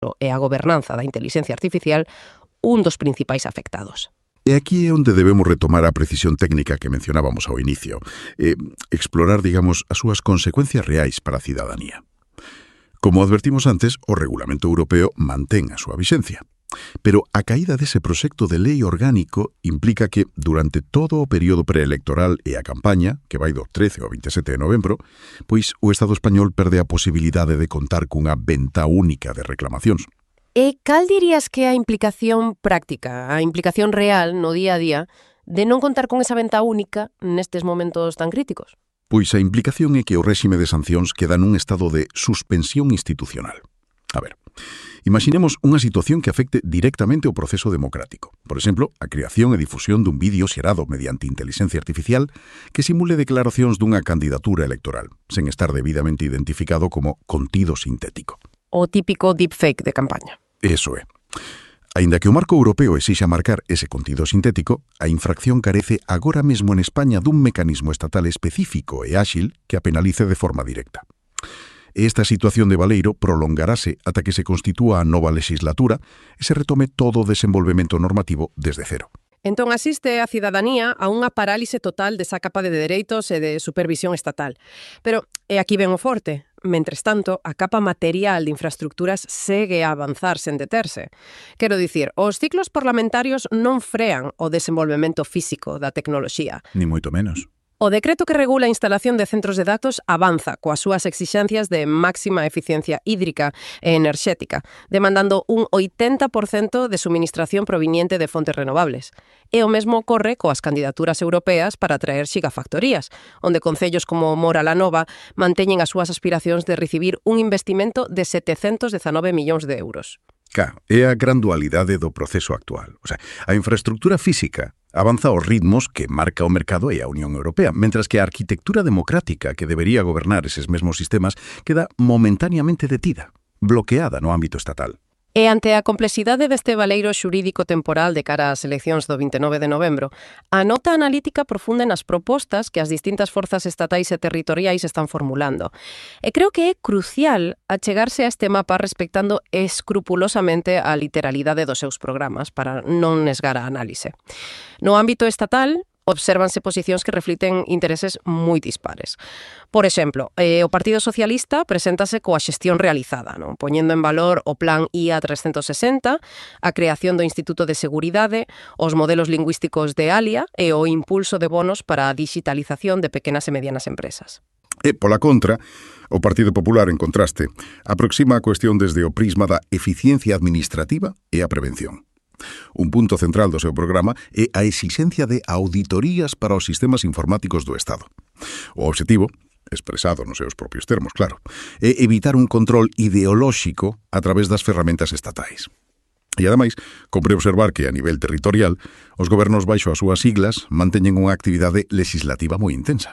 e a gobernanza da inteligencia artificial un dos principais afectados. E aquí é onde debemos retomar a precisión técnica que mencionábamos ao inicio, explorar, digamos, as súas consecuencias reais para a cidadanía. Como advertimos antes, o Regulamento Europeo mantén a súa vixencia. Pero a caída dese proxecto de lei orgánico implica que, durante todo o período preelectoral e a campaña, que vai do 13 ao 27 de novembro, pois o Estado español perde a posibilidade de contar cunha venta única de reclamacións. E cal dirías que é a implicación práctica, a implicación real no día a día de non contar con esa venta única nestes momentos tan críticos? Pois a implicación é que o réxime de sancións queda nun estado de suspensión institucional. A ver, imaginemos unha situación que afecte directamente o proceso democrático. Por exemplo, a creación e difusión dun vídeo xerado mediante inteligencia artificial que simule declaracións dunha candidatura electoral, sen estar debidamente identificado como contido sintético. O típico deepfake de campaña. Eso é. Aínda que o marco europeo exixa marcar ese contido sintético, a infracción carece agora mesmo en España dun mecanismo estatal específico e áxil que a penalice de forma directa. Esta situación de baleiro prolongarase ata que se constitúa a nova legislatura e se retome todo o desenvolvemento normativo desde cero. Entón asiste a cidadanía a unha parálise total desa capa de dereitos e de supervisión estatal. Pero, e aquí ven o forte, mentres tanto, a capa material de infraestructuras segue a avanzar sen deterse. Quero dicir, os ciclos parlamentarios non frean o desenvolvemento físico da tecnoloxía. Ni moito menos. O decreto que regula a instalación de centros de datos avanza coas súas exixencias de máxima eficiencia hídrica e enerxética, demandando un 80% de suministración proveniente de fontes renovables. E o mesmo ocorre coas candidaturas europeas para atraer xigafactorías, onde concellos como Mora la Nova manteñen as súas aspiracións de recibir un investimento de 719 millóns de euros. É a gran dualidade do proceso actual. O sea, a infraestructura física avanza aos ritmos que marca o mercado e a Unión Europea, mentras que a arquitectura democrática que debería gobernar eses mesmos sistemas queda momentáneamente detida, bloqueada no ámbito estatal. E ante a complexidade deste baleiro xurídico temporal de cara ás eleccións do 29 de novembro, a nota analítica profunde nas propostas que as distintas forzas estatais e territoriais están formulando. E creo que é crucial achegarse a este mapa respectando escrupulosamente a literalidade dos seus programas para non nesgar a análise. No ámbito estatal, obsérvanse posicións que reflicten intereses moi dispares. Por exemplo, o Partido Socialista preséntase coa xestión realizada, non? Poñendo en valor o Plan IA 360, a creación do Instituto de Seguridade, os modelos lingüísticos de Alia e o impulso de bonos para a digitalización de pequenas e medianas empresas. E, pola contra, o Partido Popular, en contraste, aproxima a cuestión desde o prisma da eficiencia administrativa e a prevención. Un punto central do seu programa é a exixencia de auditorías para os sistemas informáticos do Estado. O obxectivo, expresado nos seus propios termos, claro, é evitar un control ideolóxico a través das ferramentas estatais. E, ademais, compre observar que, a nivel territorial, os gobernos baixo as súas siglas manteñen unha actividade legislativa moi intensa.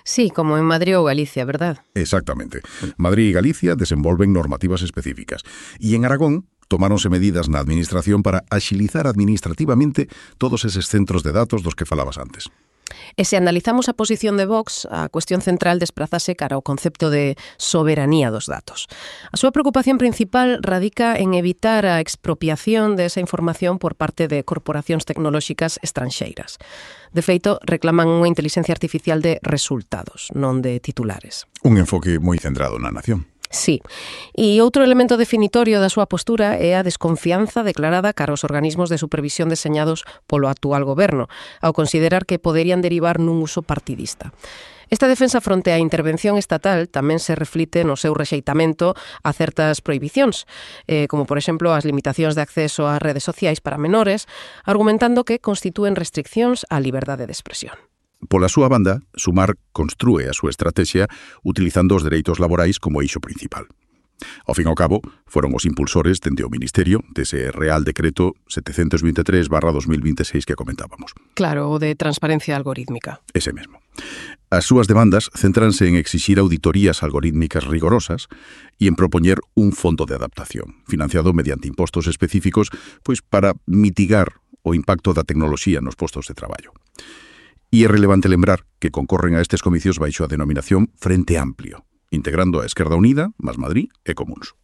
Sí, como en Madrid ou Galicia, verdad? Exactamente. Madrid e Galicia desenvolven normativas específicas. E en Aragón tomáronse medidas na administración para axilizar administrativamente todos eses centros de datos dos que falabas antes. E se analizamos a posición de Vox, a cuestión central desprázase cara ao concepto de soberanía dos datos. A súa preocupación principal radica en evitar a expropiación desa información por parte de corporacións tecnolóxicas estranxeiras. De feito, reclaman unha inteligencia artificial de resultados, non de titulares. Un enfoque moi centrado na nación. Sí. E outro elemento definitorio da súa postura é a desconfianza declarada cara aos organismos de supervisión deseñados polo actual goberno, ao considerar que poderían derivar nun uso partidista. Esta defensa fronte á intervención estatal tamén se reflite no seu rexeitamento a certas prohibicións, como, por exemplo, as limitacións de acceso ás redes sociais para menores, argumentando que constitúen restriccións á liberdade de expresión. Pola súa banda, Sumar construe a súa estrategia utilizando os dereitos laborais como eixo principal. Ao fin e ao cabo, foron os impulsores dende o Ministerio dese Real Decreto 723/2026 que comentábamos. Claro, o de transparencia algorítmica. Ese mesmo. As súas demandas centranse en exixir auditorías algorítmicas rigorosas e en propoñer un fondo de adaptación, financiado mediante impostos específicos, pois para mitigar o impacto da tecnoloxía nos postos de traballo. E é relevante lembrar que concorren a estes comicios baixo a denominación Frente Amplio, integrando a Esquerda Unida, Más Madrid e Comuns.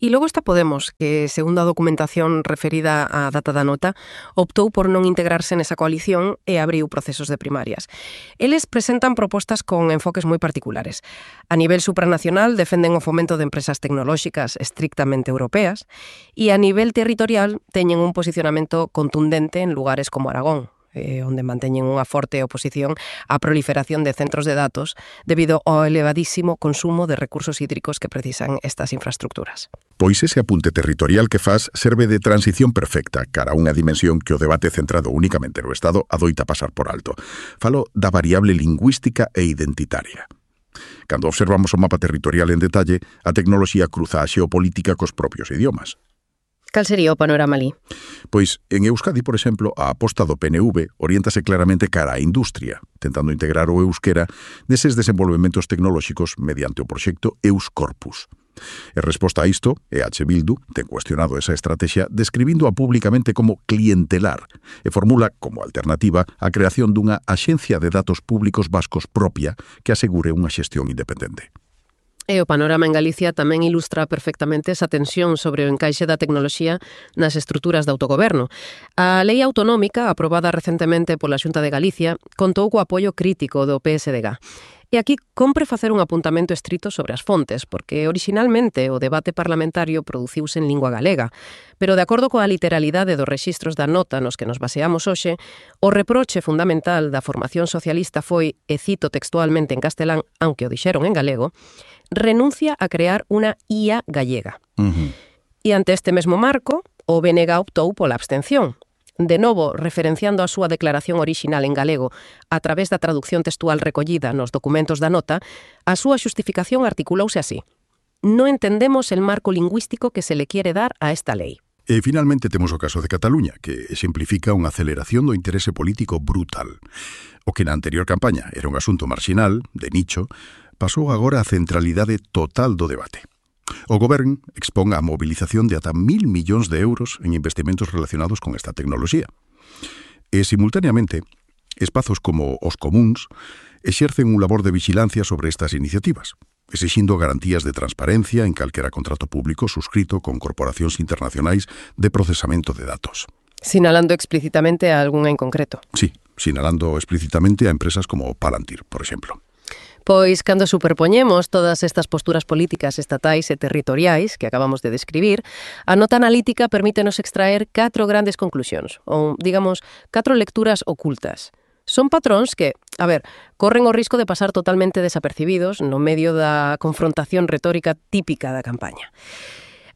E logo está Podemos, que, segundo a documentación referida á data da nota, optou por non integrarse nesa coalición e abriu procesos de primarias. Eles presentan propostas con enfoques moi particulares. A nivel supranacional defenden o fomento de empresas tecnolóxicas estrictamente europeas e a nivel territorial teñen un posicionamento contundente en lugares como Aragón, onde manteñen unha forte oposición á proliferación de centros de datos debido ao elevadísimo consumo de recursos hídricos que precisan estas infraestructuras. Pois ese apunte territorial que faz serve de transición perfecta cara a unha dimensión que o debate centrado únicamente no Estado adoita pasar por alto. Falo da variable lingüística e identitaria. Cando observamos o mapa territorial en detalle, a tecnoloxía cruza a xeopolítica cos propios idiomas. Cal sería o panorama ali? Pois, en Euskadi, por exemplo, a aposta do PNV oriéntase claramente cara á industria, tentando integrar o euskera neses desenvolvementos tecnolóxicos mediante o proxecto Euscorpus. En resposta a isto, EH Bildu ten cuestionado esa estrategia describíndoa públicamente como clientelar e formula como alternativa a creación dunha axencia de datos públicos vascos propia que asegure unha xestión independente. E o panorama en Galicia tamén ilustra perfectamente esa tensión sobre o encaixe da tecnoloxía nas estruturas de autogoberno. A lei autonómica, aprobada recentemente pola Xunta de Galicia, contou co apoio crítico do PSDG. E aquí compre facer un apuntamento estrito sobre as fontes, porque orixinalmente o debate parlamentario produciuse en lingua galega, pero de acordo coa literalidade dos rexistros da nota nos que nos baseamos hoxe, o reproche fundamental da formación socialista foi, e cito textualmente en castelán, aunque o dixeron en galego, renuncia a crear unha IA gallega. E ante este mesmo marco, o BNG optou pola abstención. De novo, referenciando a súa declaración orixinal en galego a través da traducción textual recollida nos documentos da nota, a súa xustificación articulouse así: non entendemos el marco lingüístico que se le quiere dar a esta lei. E finalmente temos o caso de Cataluña, que exemplifica unha aceleración do interese político brutal. O que na anterior campaña era un asunto marxinal, de nicho, pasou agora a centralidade total do debate. O Govern expón a mobilización de ata 1.000 millóns de euros en investimentos relacionados con esta tecnoloxía. E, simultaneamente, espazos como os comuns exercen un labor de vigilancia sobre estas iniciativas, exixindo garantías de transparencia en calquera contrato público suscrito con corporacións internacionais de procesamento de datos. Sinalando explícitamente a algunha en concreto. Sí, sinalando explícitamente a empresas como Palantir, por exemplo. Pois, cando superpoñemos todas estas posturas políticas estatais e territoriais que acabamos de describir, a nota analítica permítenos extraer 4 grandes conclusións, ou, digamos, 4 lecturas ocultas. Son patróns que, corren o risco de pasar totalmente desapercibidos no medio da confrontación retórica típica da campaña.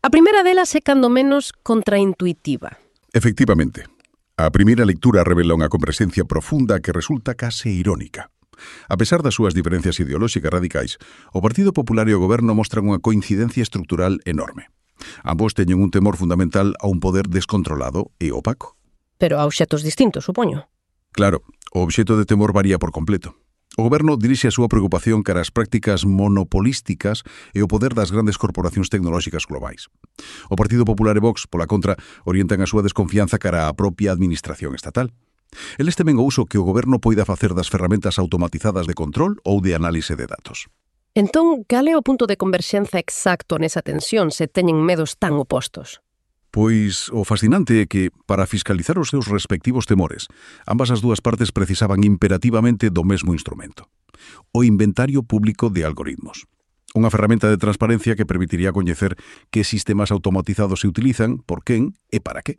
A primeira delas é cando menos contraintuitiva. Efectivamente, a primeira lectura revela unha compresencia profunda que resulta case irónica. A pesar das súas diferencias ideolóxicas radicais, o Partido Popular e o Goberno mostran unha coincidencia estrutural enorme. Ambos teñen un temor fundamental a un poder descontrolado e opaco. Pero a obxetos distintos, supoño. Claro, o obxeto de temor varía por completo. O Goberno dirixe a súa preocupación cara ás prácticas monopolísticas e o poder das grandes corporacións tecnolóxicas globais. O Partido Popular e Vox, pola contra, orientan a súa desconfianza cara á propia administración estatal. Eles temen o uso que o Goberno poida facer das ferramentas automatizadas de control ou de análise de datos. Entón, cal é o punto de converxenza exacto nesa tensión se teñen medos tan opostos? Pois o fascinante é que, para fiscalizar os seus respectivos temores, ambas as dúas partes precisaban imperativamente do mesmo instrumento: o inventario público de algoritmos. Unha ferramenta de transparencia que permitiría coñecer que sistemas automatizados se utilizan, por quen e para que.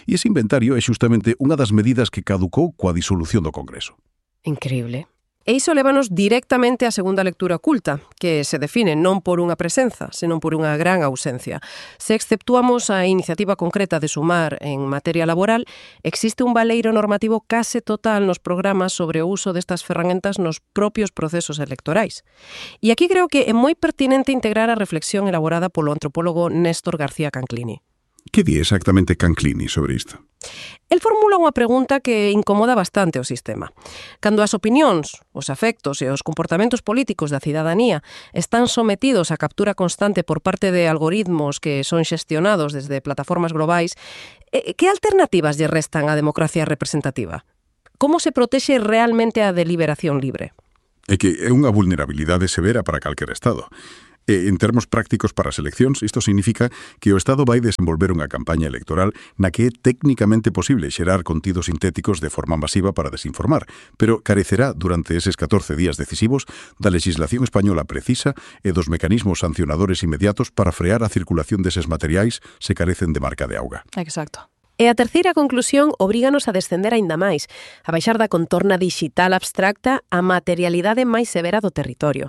E ese inventario é xustamente unha das medidas que caducou coa disolución do Congreso. Increíble. E iso lévanos directamente á segunda lectura oculta, que se define non por unha presenza, senón por unha gran ausencia. Se exceptuamos a iniciativa concreta de Sumar en materia laboral, existe un baleiro normativo case total nos programas sobre o uso destas ferramentas nos propios procesos electorais. E aquí creo que é moi pertinente integrar a reflexión elaborada polo antropólogo Néstor García Canclini. Que di exactamente Canclini sobre isto? El formula unha pregunta que incomoda bastante o sistema. Cando as opinións, os afectos e os comportamentos políticos da cidadanía están sometidos á captura constante por parte de algoritmos que son xestionados desde plataformas globais, que alternativas lle restan á democracia representativa? Como se protexe realmente a deliberación libre? É que é unha vulnerabilidade severa para calquera Estado. En termos prácticos para as eleccións, isto significa que o Estado vai desenvolver unha campaña electoral na que é técnicamente posible xerar contidos sintéticos de forma masiva para desinformar, pero carecerá durante eses 14 días decisivos da legislación española precisa e dos mecanismos sancionadores inmediatos para frear a circulación deses materiais se carecen de marca de auga. Exacto. E a terceira conclusión obríganos a descender aínda máis, a baixar da contorna digital abstracta á materialidade máis severa do territorio.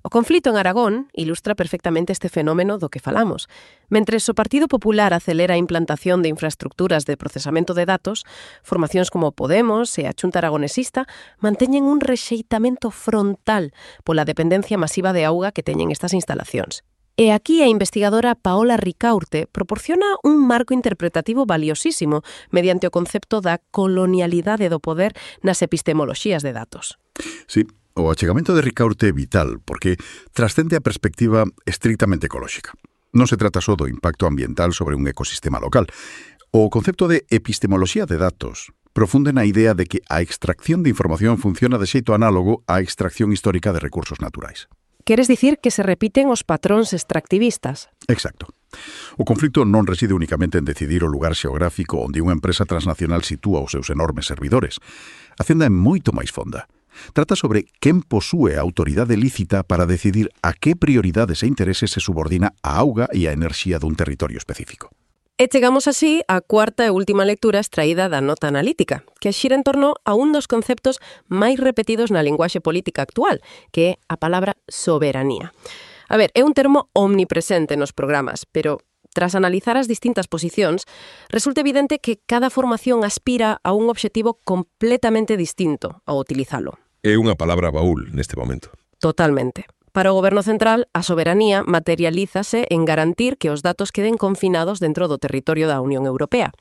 O conflito en Aragón ilustra perfectamente este fenómeno do que falamos. Mentres o Partido Popular acelera a implantación de infraestructuras de procesamento de datos, formacións como Podemos e a Xunta Aragonesista manteñen un rexeitamento frontal pola dependencia masiva de auga que teñen estas instalacións. E aquí a investigadora Paola Ricaurte proporciona un marco interpretativo valiosísimo mediante o concepto da colonialidade do poder nas epistemoloxías de datos. Sí. O achegamento de Ricaurte é vital porque trascende a perspectiva estrictamente ecolóxica. Non se trata só do impacto ambiental sobre un ecosistema local. O concepto de epistemoloxía de datos profunde na idea de que a extracción de información funciona de xeito análogo á extracción histórica de recursos naturais. Queres dicir que se repiten os patróns extractivistas? Exacto. O conflito non reside únicamente en decidir o lugar xeográfico onde unha empresa transnacional sitúa os seus enormes servidores. A cenda é moito máis fonda. Trata sobre quen posúe a autoridade lícita para decidir a que prioridades e intereses se subordina a auga e a enerxía dun territorio específico. E chegamos así á cuarta e última lectura extraída da nota analítica, que xira en torno a un dos conceptos máis repetidos na linguaxe política actual, que é a palabra soberanía. A ver, é un termo omnipresente nos programas, pero tras analizar as distintas posicións, resulta evidente que cada formación aspira a un obxectivo completamente distinto ao utilizalo. É unha palabra baúl neste momento. Totalmente. Para o Goberno Central, a soberanía materialízase en garantir que os datos queden confinados dentro do territorio da Unión Europea.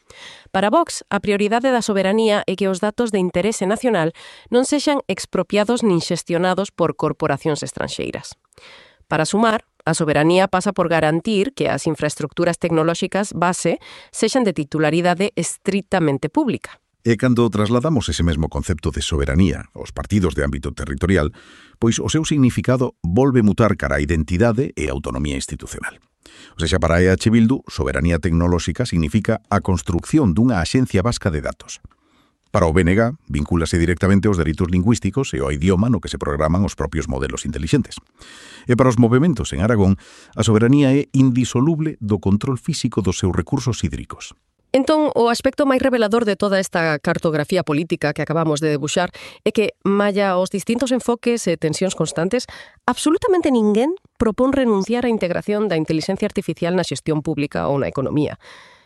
Para Vox, a prioridade da soberanía é que os datos de interese nacional non sexan expropiados nin xestionados por corporacións estranxeiras. Para Sumar, a soberanía pasa por garantir que as infraestructuras tecnolóxicas base sexan de titularidade estritamente pública. E cando trasladamos ese mesmo concepto de soberanía aos partidos de ámbito territorial, pois o seu significado volve mutar cara a identidade e autonomía institucional. O sexa, para EH Bildu, soberanía tecnolóxica significa a construcción dunha axencia vasca de datos. Para o BNG, vincúlase directamente aos dereitos lingüísticos e ao idioma no que se programan os propios modelos intelixentes. E para os movementos en Aragón, a soberanía é indisoluble do control físico dos seus recursos hídricos. Entón, o aspecto máis revelador de toda esta cartografía política que acabamos de debuxar é que, malla aos distintos enfoques e tensións constantes, absolutamente ninguén propón renunciar á integración da inteligencia artificial na xestión pública ou na economía.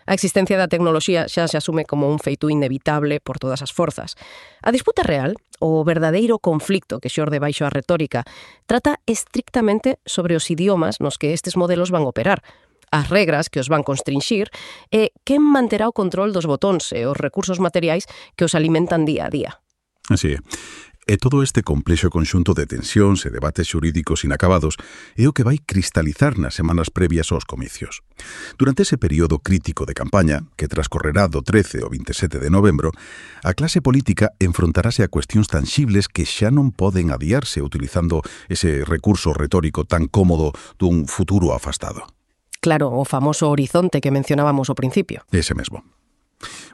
A existencia da tecnoloxía xa se asume como un feito inevitable por todas as forzas. A disputa real, o verdadeiro conflicto que xorde baixo a retórica, trata estrictamente sobre os idiomas nos que estes modelos van operar, as regras que os van constrinxir e quen manterá o control dos botóns e os recursos materiais que os alimentan día a día. Así é. E todo este complexo conxunto de tensións e debates xurídicos inacabados é o que vai cristalizar nas semanas previas aos comicios. Durante ese período crítico de campaña, que transcorrerá do 13 ao 27 de novembro, a clase política enfrontarase a cuestións tanxibles que xa non poden adiarse utilizando ese recurso retórico tan cómodo dun futuro afastado. Claro, o famoso horizonte que mencionábamos ao principio. Ese mesmo.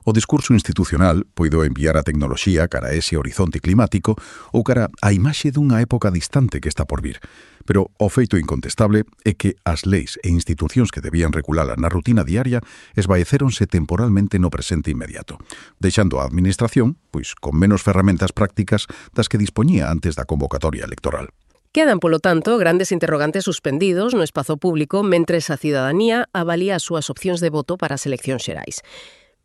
O discurso institucional poido enviar a tecnoloxía cara a ese horizonte climático ou cara á imaxe dunha época distante que está por vir. Pero o feito incontestable é que as leis e institucións que debían regulala na rutina diaria esvaecéronse temporalmente no presente inmediato, deixando a administración pois con menos ferramentas prácticas das que dispoñía antes da convocatoria electoral. Quedan, polo tanto, grandes interrogantes suspendidos no espazo público mentres a cidadanía avalía as súas opcións de voto para as eleccións xerais.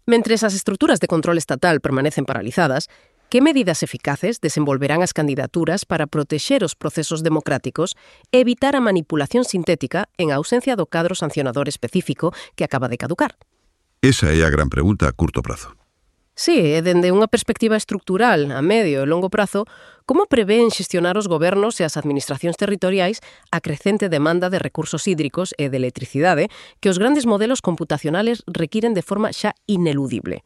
Mentres as estruturas de control estatal permanecen paralizadas, que medidas eficaces desenvolverán as candidaturas para protexer os procesos democráticos e evitar a manipulación sintética en ausencia do cadro sancionador específico que acaba de caducar? Esa é a gran pregunta a curto prazo. Sí, e dende unha perspectiva estructural a medio e longo prazo, como prevén xestionar os gobernos e as administracións territoriais a crecente demanda de recursos hídricos e de electricidade que os grandes modelos computacionales requiren de forma xa ineludible?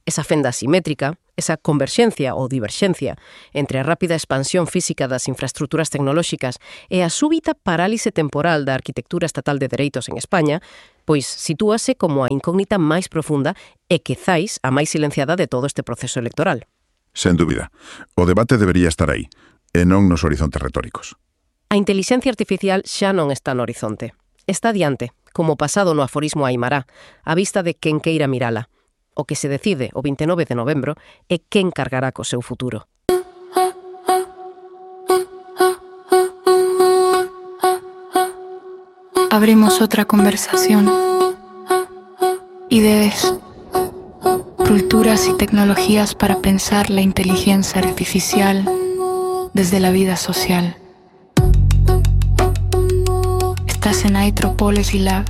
Esa fenda asimétrica, esa converxencia ou diverxencia entre a rápida expansión física das infraestructuras tecnolóxicas e a súbita parálise temporal da arquitectura estatal de dereitos en España, pois sitúase como a incógnita máis profunda e quizais a máis silenciada de todo este proceso electoral. Sen dúbida. O debate debería estar aí, e non nos horizontes retóricos. A intelixencia artificial xa non está no horizonte. Está diante, como pasado no aforismo aimará, a vista de quen queira mirala. O que se decide o 29 de novembro é quen cargará co seu futuro. Abrimos otra conversación. Ideas, culturas y tecnologías para pensar la inteligencia artificial desde la vida social. Estás en Anthropology Lab.